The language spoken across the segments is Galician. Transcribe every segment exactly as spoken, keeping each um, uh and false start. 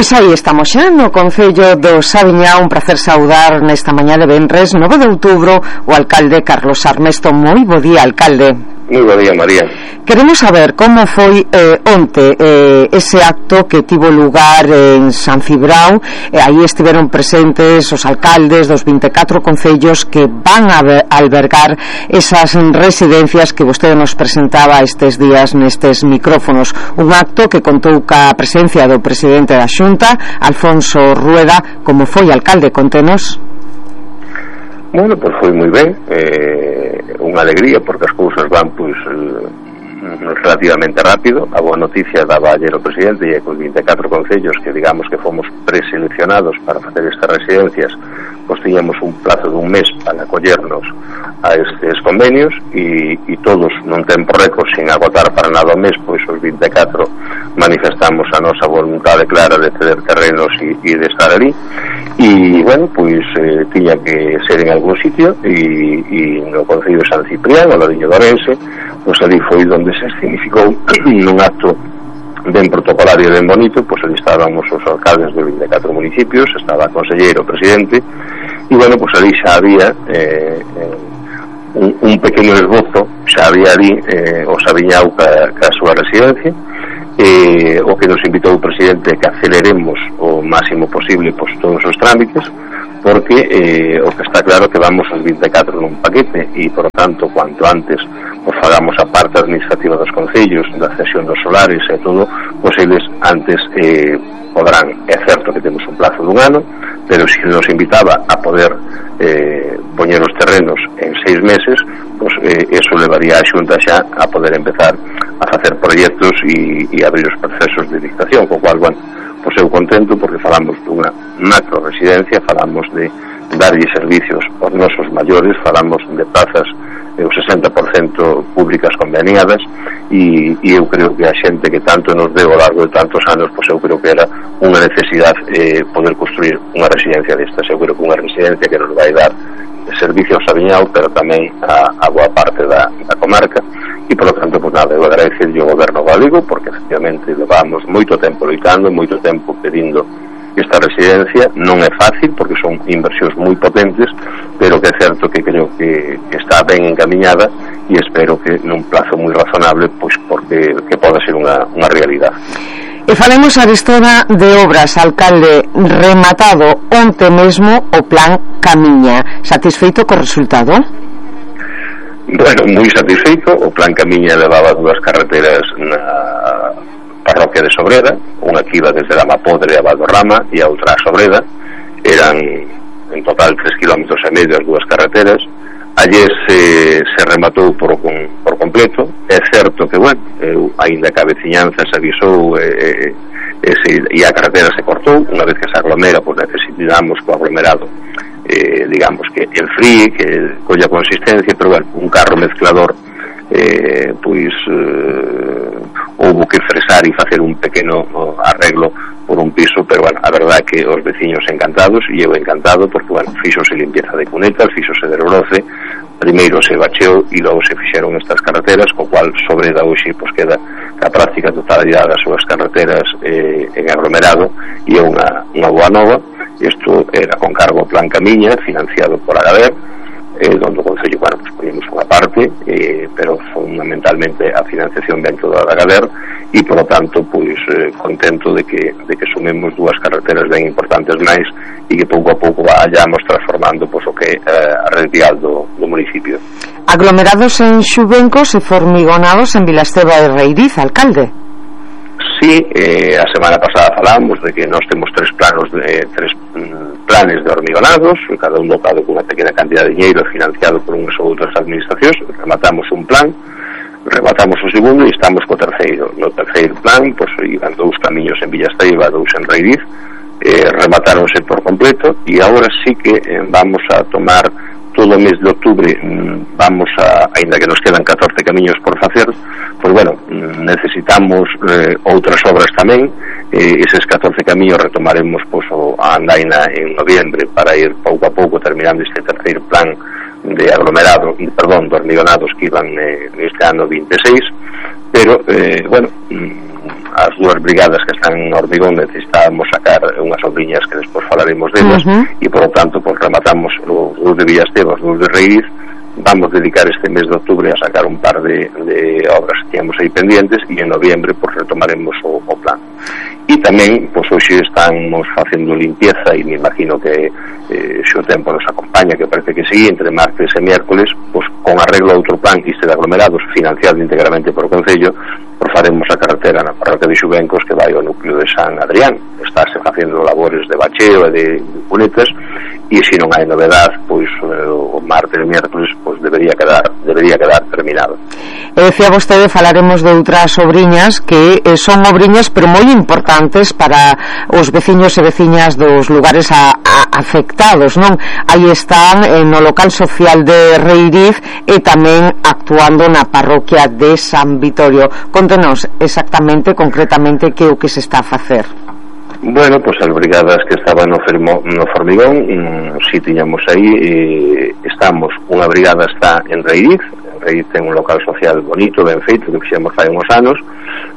Pois aí estamos xa no Concello do Saviñá. Un placer saudar nesta mañá de venres nove de outubro o alcalde Carlos Armesto. Moi bo día, alcalde. Moi bo día, María. Queremos saber como foi eh, onte eh, ese acto que tivo lugar en San Cibrao. Eh, aí estiveron presentes os alcaldes dos vinte e catro concellos que van a albergar esas residencias que vostede nos presentaba estes días nestes micrófonos. Un acto que contou ca presencia do presidente da Xunta, Alfonso Rueda. Como foi, alcalde? Contenos. Bueno, pois foi moi ben, eh, unha alegría porque as cousas van pois eh, relativamente rápido. A boa noticia daba ayer o presidente e con vinte e catro concellos que digamos que fomos preseleccionados para facer estas residencias, pois tiñamos un plazo dun mes para acollernos a estes convenios e, e todos nun tempo récord, sin agotar para nada o mes, pois os vinte e catro manifestamos a nosa voluntade clara de ceder terrenos e, e de estar ali. E, bueno, pois eh, tiña que ser en algún sitio e, e no Concello de San Ciprián, ao ladiño de Orense, pois ali foi onde se significou nun acto ben protocolario e ben bonito. Pois ali estábamos os alcaldes de vinte e catro municipios, estaba a conselleiro, o presidente, e, bueno, pois ali xa había eh, eh, un, un pequeno esbozo, xa había ali eh, o Saviñao ca, ca súa residencia. Eh, o que nos invitou o presidente que aceleremos o máximo posible pois, todos os trámites, porque eh, o que está claro que vamos aos vinte e catro nun paquete e, por tanto, cuanto antes pois, fagamos a parte administrativa dos concellos, da cesión dos solares e todo, pois eles antes eh, podrán. É certo que temos un plazo dun ano, pero se nos invitaba a poder eh, poñer os terrenos en seis meses, pois eh, eso levaría a Xunta xa a poder empezar a facer proxectos e, e abrir os procesos de dictación, co cual, bueno, pois eu contento porque falamos dunha macro residencia, falamos de darlle servicios aos nosos maiores, falamos de plazas eh, o sesenta por cento públicas conveniadas e, e eu creo que a xente que tanto nos deu ao largo de tantos anos, pois eu creo que era unha necesidade eh, poder construir unha residencia destas. Eu creo que unha residencia que nos vai dar servicio ao Saviñao, pero tamén a, a boa parte da, da comarca. E, por lo tanto, pues nada, eu agradecerlle ao goberno galego porque, efectivamente, levamos moito tempo loitando, moito tempo pedindo esta residencia. Non é fácil porque son inversións moi potentes, pero que é certo que creo que, que está ben encaminhada e espero que nun plazo moi razonable, pois porque que poda ser unha, unha realidade. E falemos arestora de obras, alcalde. Rematado onte mesmo o plan Camiña. Satisfeito co resultado? Bueno, moi satisfeito. O plan Camiña levaba dúas carreteras na parroquia de Sobreda, unha que iba desde Lamapodre a Valderrama e a outra a Sobreda. Eran en total tres kilómetros e medio as dúas carreteras. Ayer se, se rematou por, por completo. É certo que, bueno, eu, ainda que a veciñanza se avisou e, e, se, e a carretera se cortou, unha vez que se aglomera, pois necesitamos co aglomerado eh, digamos que enfríe, que colla consistencia, pero, bueno, un carro mezclador eh, pois eh, houve que fresar e facer un pequeno oh, arreglo por un piso, pero, bueno, a verdade é que os veciños encantados e eu encantado porque, bueno, fixose limpieza de cunetas, fixose de broce, primeiro se bacheou e logo se fixeron estas carreteras, co cual Sobreda hoxe pois queda a práctica totalidade das súas carreteras eh, en aglomerado e é unha, unha boa nova. Isto era con cargo ao plan Camiña, financiado por Agader, eh, onde o Concello, bueno, pues poñemos unha parte, eh, pero fundamentalmente a financiación ven toda da Agader e, por lo tanto, pois eh, contento de que, de que sumemos dúas carreteras ben importantes máis e que pouco a pouco vayamos transformando pois, o que é eh, a red vial do, do municipio. Aglomerados en Xubencos e formigonados en Vilasteba de Reiriz, alcalde. Sí, eh, a semana pasada falamos de que nós temos tres planos de, tres mm, planes de hormigonados, cada un dotado con unha pequena cantidad de dinheiro financiado por unhas ou outras administracións. Rematamos un plan, rematamos o segundo e estamos co terceiro. No terceiro plan, pois, iban dous camiños en Villasteiba, dous en Reiriz, eh, rematáronse por completo e agora sí que eh, vamos a tomar todo o mes de octubre, vamos a, ainda que nos quedan catorce camiños por facer, pois, bueno, necesitamos eh, outras obras tamén. Eh, eses catorce camiños retomaremos pois, a andaina en noviembre para ir pouco a pouco terminando este terceiro plan de aglomerado, perdón, de hormigonados que iban eh, neste ano vinte e seis, pero, eh, bueno, as dúas brigadas que están en Hormigón necesitábamos sacar unhas obriñas que despois falaremos delas, uh-huh. e por lo tanto pues, rematamos os dous de Villasteva, os dous de Reiriz. Vamos dedicar este mes de octubre a sacar un par de, de obras que tínhamos aí pendientes e en noviembre pues, retomaremos o, o plan. E tamén, pois pues, hoxe estamos facendo limpieza e me imagino que eh, se o tempo nos acompaña, que parece que sí, entre martes e miércoles, pues, con arreglo a outro plan este de aglomerados financiado íntegramente por o Concello, pues faremos a carretera na parroquia de Xubencos que vai ao núcleo de San Adrián. Estáse facendo labores de bacheo e de cunetas e se non hai novedade, pois o martes e miércoles pois debería quedar debería quedar terminado. E decía vostede, falaremos de outras obriñas que eh, son obriñas pero moi importantes para os veciños e veciñas dos lugares a, a, afectados, non? Aí están eh, no local social de Reiriz e tamén actuando na parroquia de San Vitorio. Contenos exactamente, concretamente, que é o que se está a facer. Bueno, pois pues as brigadas que estaban no, fermo, no Formigón, mm, si tiñamos aí, eh, estamos, unha brigada está en Reiriz. Reiriz ten un local social bonito, ben feito, que fixemos fai uns anos,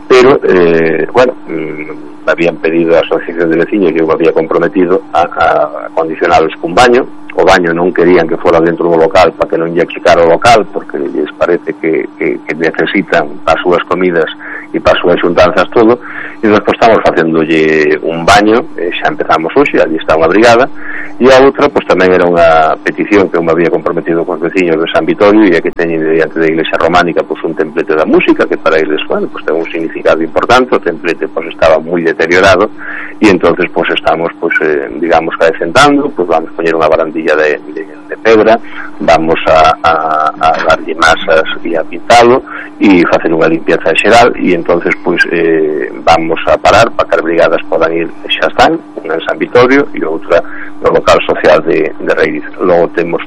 pero, eh, bueno, mm, habían pedido a asociación de veciños e eu había comprometido a, a condicionalos cun baño. O baño non querían que fora dentro do local para que non lle checara o local, porque lles parece que, que, que necesitan para as súas comidas e para as súas xuntanzas todo, e nós pues, estamos facéndolle un baño, eh, xa empezamos hoxe, ali está unha brigada, e a outra, pois pues, tamén era unha petición que eu me había comprometido con os veciños de San Vitorio, e que teñen diante da iglesia románica pois pues, un templete da música, que para eles, bueno, pues, ten un significado importante. O templete pues, estaba moi deteriorado, e entonces pues, estamos, pues, eh, digamos, caecentando, pues, vamos a poñer unha barandilla De, de, de pedra, vamos a, a, a darlle masas e a pintalo e facer unha limpieza xeral, e entonces pois eh, vamos a parar para que as brigadas podan ir, xa están, unha en San Vitorio e outra no local social de, de Reiriz. Logo temos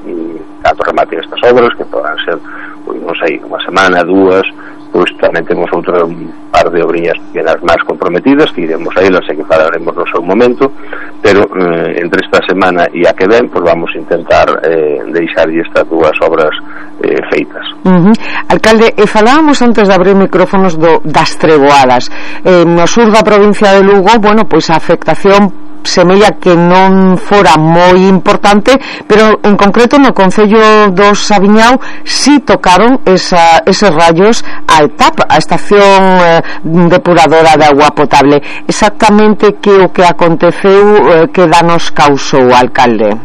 cando rematen estas obras, que podan ser, pois non sei, unha semana, dúas, pois tamén temos outra un par de obriñas pequenas máis comprometidas que iremos a elas e que falaremos no seu momento, pero eh, entre esta semana e a que ven pois vamos a intentar eh, deixar estas dúas obras eh, feitas. Uh-huh. Alcalde, e falábamos antes de abrir micrófonos do, das treboadas. Eh, no sur da provincia de Lugo, bueno, pois a afectación semella que non fora moi importante, pero en concreto no concello do Saviñao si tocaron esa, eses rayos a E T A P, a estación eh, depuradora de agua potable. Exactamente que o que aconteceu, eh, que danos causou, alcalde?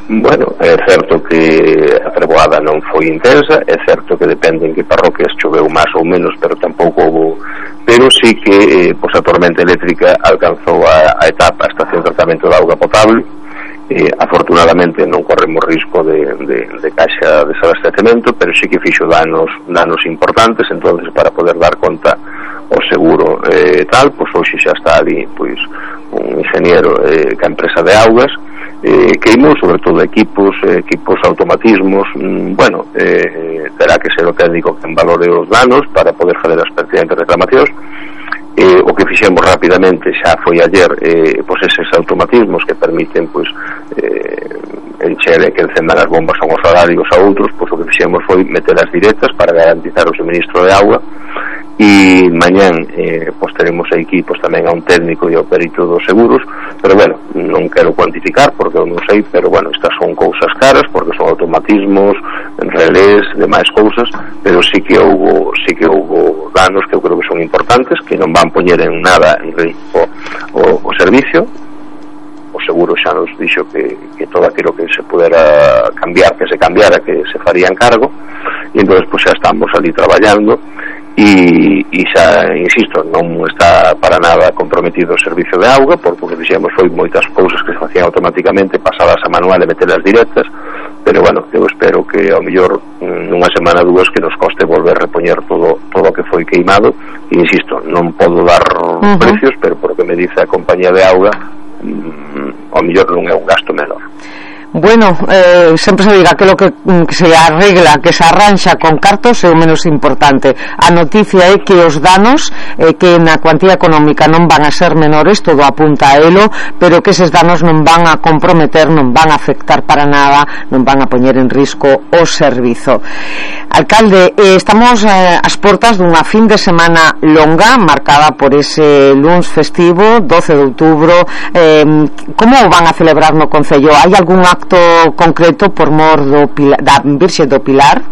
Bueno, é certo que a treboada non foi intensa, é certo que depende en que parroquias choveu máis ou menos, pero tampouco houve, pero sí que eh, pois a tormenta eléctrica alcanzou a, a etapa, a estación de tratamento de auga potable. Eh, afortunadamente non corremos risco de, de, de caixa de desabastecemento, pero sí que fixo danos, danos importantes. Entonces, para poder dar conta o seguro eh, tal, pois hoxe xa está ali pois un ingeniero eh, que a empresa de augas eh, queimou sobre todo equipos eh, equipos automatismos, mm, bueno eh, terá que ser o técnico que valore os danos para poder fazer as pertinentes reclamacións. Eh, o que fixemos rapidamente xa foi ayer eh, pois eses automatismos que permiten pois eh, encher e que encendan as bombas a uns horarios a outros, pois o que fixemos foi metelas directas para garantizar o suministro de auga. E mañán eh, pois teremos aquí pois tamén a un técnico e ao perito dos seguros, pero bueno, non quero cuantificar porque eu non sei, pero bueno, estas son cousas caras porque son automatismos, relés, demais cousas, pero sí que houbo sí que houbo danos que eu creo que son importantes, que non van poñer en nada en risco o, o servicio. O seguro xa nos dixo que, que todo aquilo que se pudera cambiar, que se cambiara, que se faría en cargo, e entón pois xa estamos ali traballando. E, e xa, insisto, non está para nada comprometido o servicio de auga, porque o que fixemos foi moitas cousas que se facían automáticamente pasadas a manual e metelas directas, pero bueno, eu espero que ao mellor nunha semana dúas que nos coste volver a repoñer todo todo o que foi queimado. E insisto, non podo dar uh-huh. precios, pero por que me dice a compañía de auga, mm, ao mellor non é un gasto menor. Bueno, eh, sempre se diga que lo que, que se arregla, que se arranxa con cartos é o menos importante. A noticia é que os danos eh, que na cuantía económica non van a ser menores, todo apunta a elo, pero que eses danos non van a comprometer, non van a afectar para nada, non van a poñer en risco o servizo. Alcalde, eh, estamos eh, ás portas dunha fin de semana longa marcada por ese luns festivo doce de outubro. eh, como van a celebrar no Concello? Hai algún acto concreto por mor do Pilar, da Virxe do Pilar?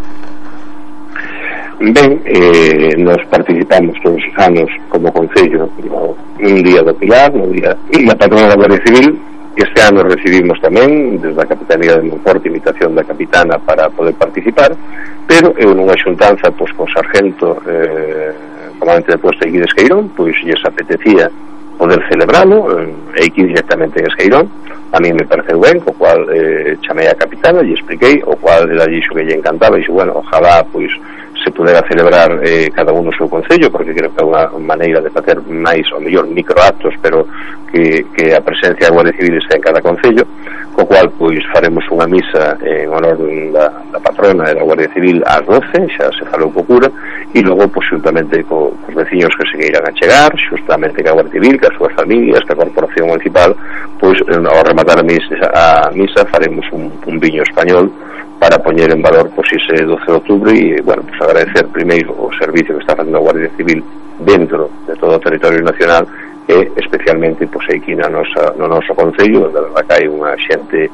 Ben, eh, nos participamos todos os anos como Concello no, un día do Pilar, no día da patrona da Guardia Civil. Este ano recibimos tamén desde a Capitanía de Monforte invitación da capitana para poder participar, pero eu nunha xuntanza pois, con sargento eh, comandante de posto aquí de Esqueirón, pois lles apetecía poder celebralo eh, aquí directamente en Esqueirón. A mí me pareceu ben, co cual eh, chamei a capitana e expliquei, o cual ela dixo que lle encantaba e dixo, bueno, ojalá pois se pudera celebrar eh, cada un no seu concello, porque creo que é unha maneira de facer máis ou mellor microactos, pero que, que a presencia da Guardia Civil está en cada concello, co cual pois faremos unha misa en honor da, da patrona da Guardia Civil ás doce, xa se falou co cura, e logo pois xuntamente co, cos veciños que se queiran a chegar, xustamente ca Guardia Civil, ca súas familias, ca Corporación Municipal, pois ao rematar a misa, a misa faremos un, un viño español para poñer en valor pois ese doce de outubro e, bueno, pois agradecer primeiro o servicio que está facendo a Guardia Civil dentro de todo o territorio nacional e especialmente pois aquí na nosa, no noso concello, onde a verdad que hai unha xente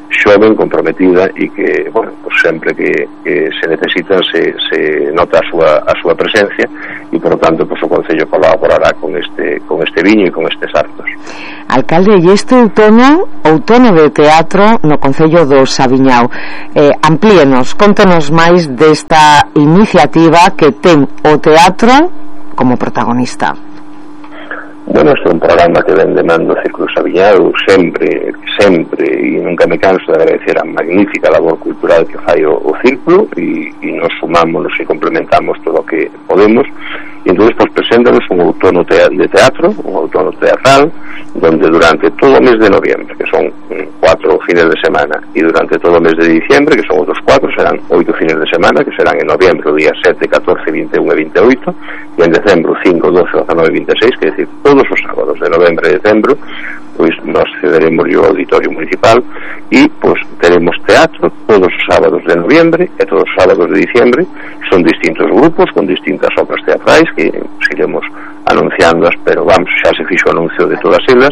xoven, comprometida e que, bueno, pois sempre que, que se necesita se, se nota a súa, a súa presencia e, por tanto, pois o concello colaborará con este, con este viño e con estes actos. Alcalde, e este outono, outono de teatro no Concello do Saviñao, eh, amplíenos, contenos máis desta iniciativa que ten o teatro como protagonista. Bueno, este é un programa que ven de mando Círculo Saviñao sempre, sempre, e nunca me canso de agradecer a magnífica labor cultural que fai o, o Círculo e, e nos sumamos e complementamos todo o que podemos. E entón, pues, preséntanos un outono de teatro, un outono teatral, donde durante todo o mes de noviembre, que son cuatro fines de semana, e durante todo o mes de diciembre, que son outros cuatro, serán oito fines de semana, que serán en noviembre, o día sete, catorce, vinte e un e vinte e oito, e en decembro cinco, doce, dezanove e vinte e seis, que é dicir, todos os sábados de novembro e decembro, pois nos cederemos ao auditorio municipal e pois teremos teatro todos os sábados de noviembre e todos os sábados de diciembre. Son distintos grupos con distintas obras teatrais que pues, iremos anunciándoas, pero vamos, xa se fixo o anuncio de todas elas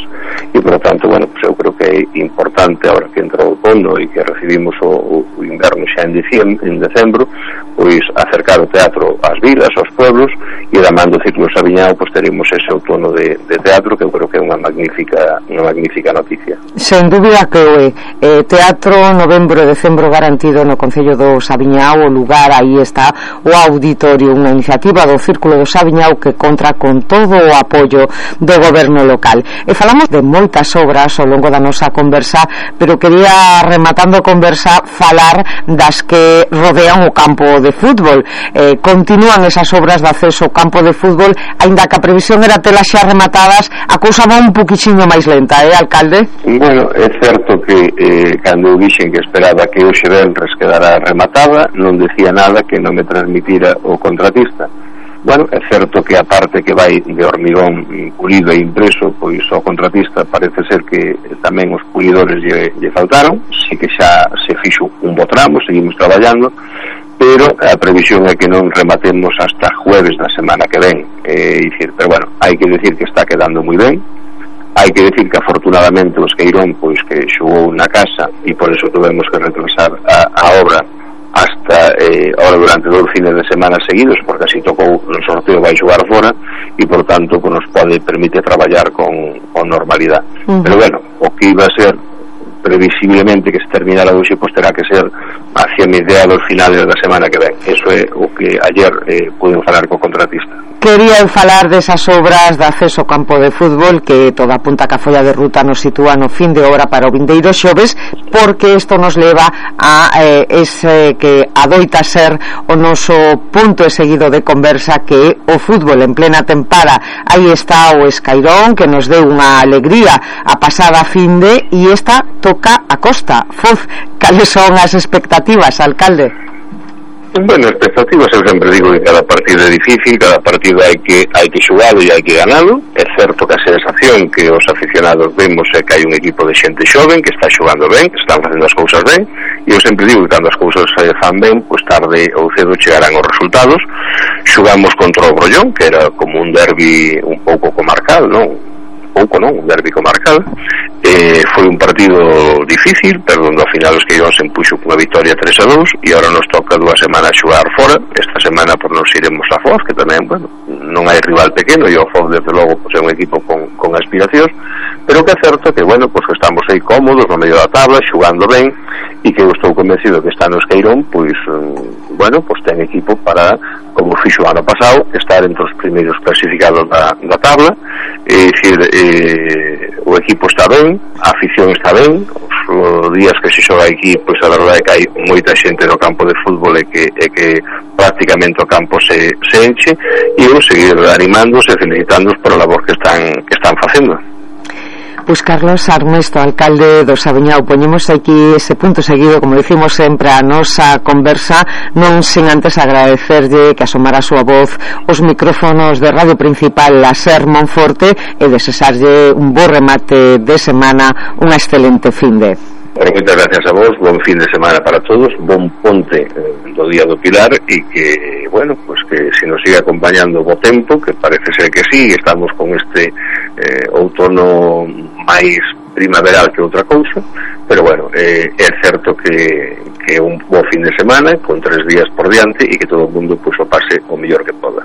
e, por lo tanto, bueno, pues eu creo que é importante ahora que entra o outono e que recibimos o, o inverno xa en diciembre, en decembro, pois acercar o teatro ás vilas, aos pueblos, e da man do Círculo Saviñao pois teremos ese outono de, de teatro que eu creo que é unha magnífica unha magnífica noticia. Sen dúbida que o é. Eh, teatro novembro e decembro garantido no Concello do Saviñao, o lugar aí está, o auditorio, unha iniciativa do Círculo do Saviñao que contra con todo o apoio do goberno local. E falamos de moitas obras ao longo da nosa conversa, pero quería, rematando a conversa, falar das que rodean o campo de fútbol. Eh, continúan esas obras de acceso ao campo de fútbol, aínda que a previsión era telas xa rematadas, a cousa va un poquichiño máis lenta, eh, alcalde? Bueno, é certo que eh, cando eu dixen que esperaba que hoxe venres quedara rematada, non decía nada que non me transmitira o contratista. Bueno, é certo que a parte que vai de hormigón pulido e impreso, pois ao contratista parece ser que tamén os pulidores lle, lle faltaron, si que xa se fixo un bo tramo, seguimos traballando, pero a previsión é que non rematemos hasta jueves da semana que ven. É dicir, pero bueno, hai que decir que está quedando moi ben. Hai que decir que afortunadamente o Esqueirón pois que xogou na casa e por eso tuvemos que retrasar a, a obra hasta eh, ahora durante dos fines de semana seguidos, porque así tocou o sorteo vai xogar fora e por tanto pues, nos pode permite traballar con, con normalidade. Uh-huh. Pero bueno, o que iba a ser previsiblemente que se terminara hoxe, pois terá que ser hacia mediados finales da semana que ven. Eso é o que ayer eh, pude falar co contratista. Quería falar desas obras de acceso ao campo de fútbol que toda apunta que a folla de ruta nos sitúa no fin de obra para o vindeiro xoves, porque isto nos leva a eh, ese que adoita ser o noso punto e seguido de conversa, que é o fútbol en plena tempada. Aí está o Escairón, que nos deu unha alegría a pasada finde, e esta toca a Costa. Foz, cales son as expectativas, alcalde? Bueno, expectativas, eu sempre digo que cada partido é difícil, cada partido hai que hai que xugalo e hai que ganalo. É certo que a sensación que os aficionados vemos é que hai un equipo de xente xoven que está xugando ben, que están facendo as cousas ben, e eu sempre digo que cando as cousas se fan ben, pois tarde ou cedo chegarán os resultados. Xugamos contra o Brollón, que era como un derbi un pouco comarcal, non? pouco, non? Un derbi comarcal. Eh, foi un partido difícil, pero ao final os Queirón se empuxo cunha victoria tres a dous e agora nos toca dúas semanas xogar fora. Esta semana por nos iremos a Foz, que tamén, bueno, non hai rival pequeno e o Foz desde logo pues, é un equipo con, con aspiracións, pero que é certo que, bueno, pues que estamos aí cómodos no medio da tabla, xugando ben, e que eu estou convencido que está nos Queirón, pois, bueno, pues ten equipo para, como fixo o ano pasado, estar entre os primeiros clasificados da, da tabla. É dicir, eh, o equipo está ben, a afición está ben, os días que se xoga aquí, pois a verdade é que hai moita xente no campo de fútbol e que, e que prácticamente o campo se, se enche, e eu seguir animándoos e felicitándoos por a labor que están, que están facendo. Pois Carlos Armesto, alcalde do Saviñao, poñemos aquí ese punto seguido, como dicimos sempre, a nosa conversa, non sen antes agradecerlle que asomara a súa voz os micrófonos de Radio Principal a Ser Monforte e desexarlle un bo remate de semana, unha excelente finde. Bueno, moitas gracias a vos, bon fin de semana para todos, bon ponte eh, do Día do Pilar e que, bueno, pues que se nos siga acompañando o bo tempo, que parece ser que sí, estamos con este eh, outono máis primaveral que outra cousa, pero bueno, eh, é certo que, que é un bo fin de semana con tres días por diante e que todo o mundo pues, o pase o mellor que poda.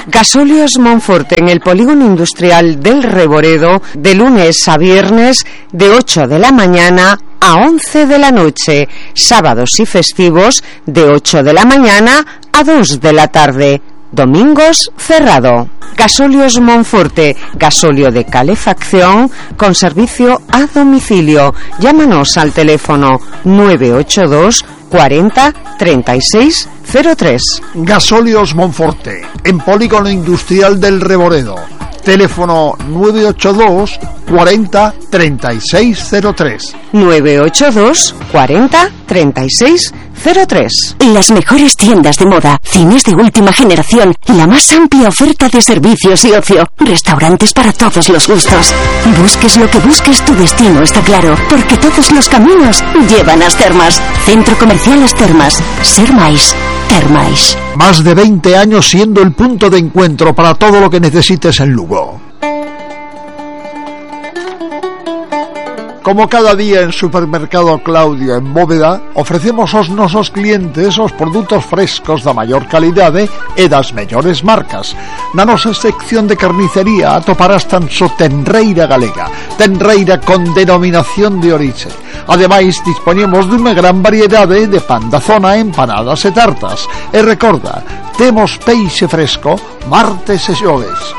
Gasóleos Monforte en el polígono industrial del Reboredo, de lunes a viernes de ocho de la mañana a once de la noche, sábados y festivos de ocho de la mañana a dos de la tarde, domingos cerrado. Gasóleos Monforte, gasóleo de calefacción con servicio a domicilio. Llámanos al teléfono nueve ocho dos cuarenta treinta y seis cero tres. Gasóleos Monforte, en polígono industrial del Reboredo. Teléfono nueve ocho dos cuarenta treinta y seis cero tres. nueve ocho dos cuarenta treinta y seis cero tres. Las mejores tiendas de moda, cines de última generación, la más amplia oferta de servicios y ocio, restaurantes para todos los gustos. Busques lo que busques, tu destino está claro, porque todos los caminos llevan a As Termas. Centro Comercial As Termas. Ser máis, ter máis. Más de veinte años siendo el punto de encuentro para todo lo que necesites en Lugo. Como cada día en Supermercado Claudio en Bóveda, ofrecemos aos nosos clientes os produtos frescos da maior calidade e das mellores marcas. Na nosa sección de carnicería atoparás tan só tenreira galega, tenreira con denominación de orixe. Ademais, dispoñemos dunha gran variedade de pan da zona, empanadas e tartas. E recorda, temos peixe fresco martes e xoves.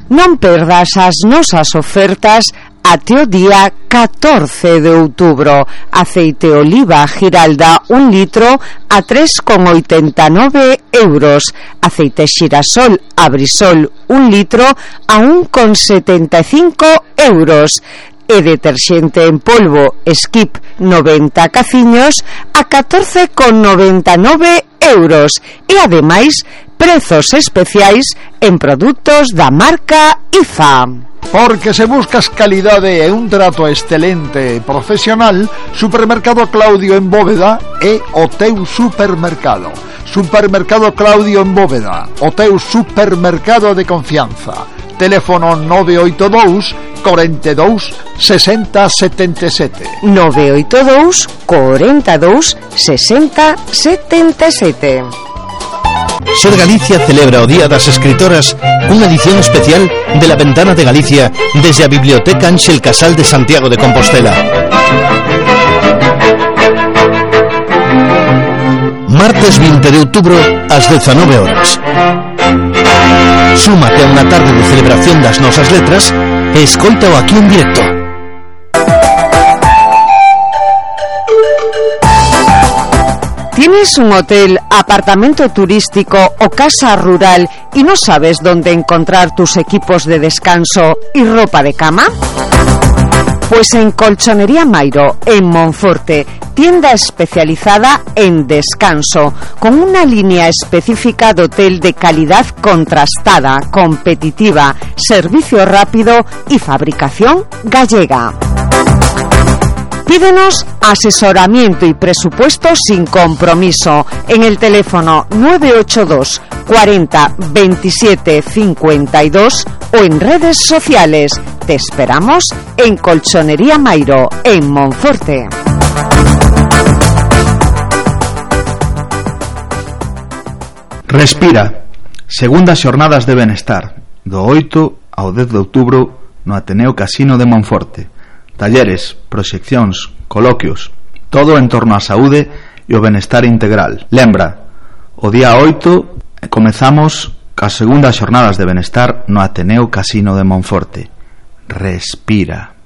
Non perdas as nosas ofertas até o día catorce de outubro. Aceite oliva Giralda un litro a tres con oitenta e nove euros. Aceite xirasol Abrisol un litro a un con setenta e cinco euros. E deterxente en polvo Skip noventa caciños a catorce con noventa e nove euros. E ademais prezos especiais en produtos da marca I F A. Porque se buscas calidade e un trato excelente e profesional, Supermercado Claudio en Bóveda é o teu supermercado. Supermercado Claudio en Bóveda, o teu supermercado de confianza. Teléfono nove oito dous cuarenta e dous sesenta setenta e sete. nove oito dous cuarenta e dous sesenta setenta e sete. Ser Galicia celebra o Día das Escritoras cunha edición especial de La Ventana de Galicia desde a Biblioteca Ángel Casal de Santiago de Compostela. Martes veinte de outubro ás dezanove horas. Súmate a unha tarde de celebración das nosas letras e escoita-o aquí en directo. ¿Tienes un hotel, apartamento turístico o casa rural y no sabes dónde encontrar tus equipos de descanso y ropa de cama? Pues en Colchonería Mairo, en Monforte, tienda especializada en descanso, con una línea específica de hotel de calidad contrastada, competitiva, servicio rápido y fabricación gallega. Pídenos asesoramiento y presupuesto sin compromiso en el teléfono nueve ocho dos cuarenta veintisiete cincuenta y dos o en redes sociales. Te esperamos en Colchonería Mairo, en Monforte. Respira. Segundas xornadas de benestar, do oito ao dez de outubro no Ateneo Casino de Monforte. Talleres, proxeccións, coloquios, todo en torno á saúde e o benestar integral. Lembra, o día oito comezamos cas segundas xornadas de benestar no Ateneo Casino de Monforte. Respira.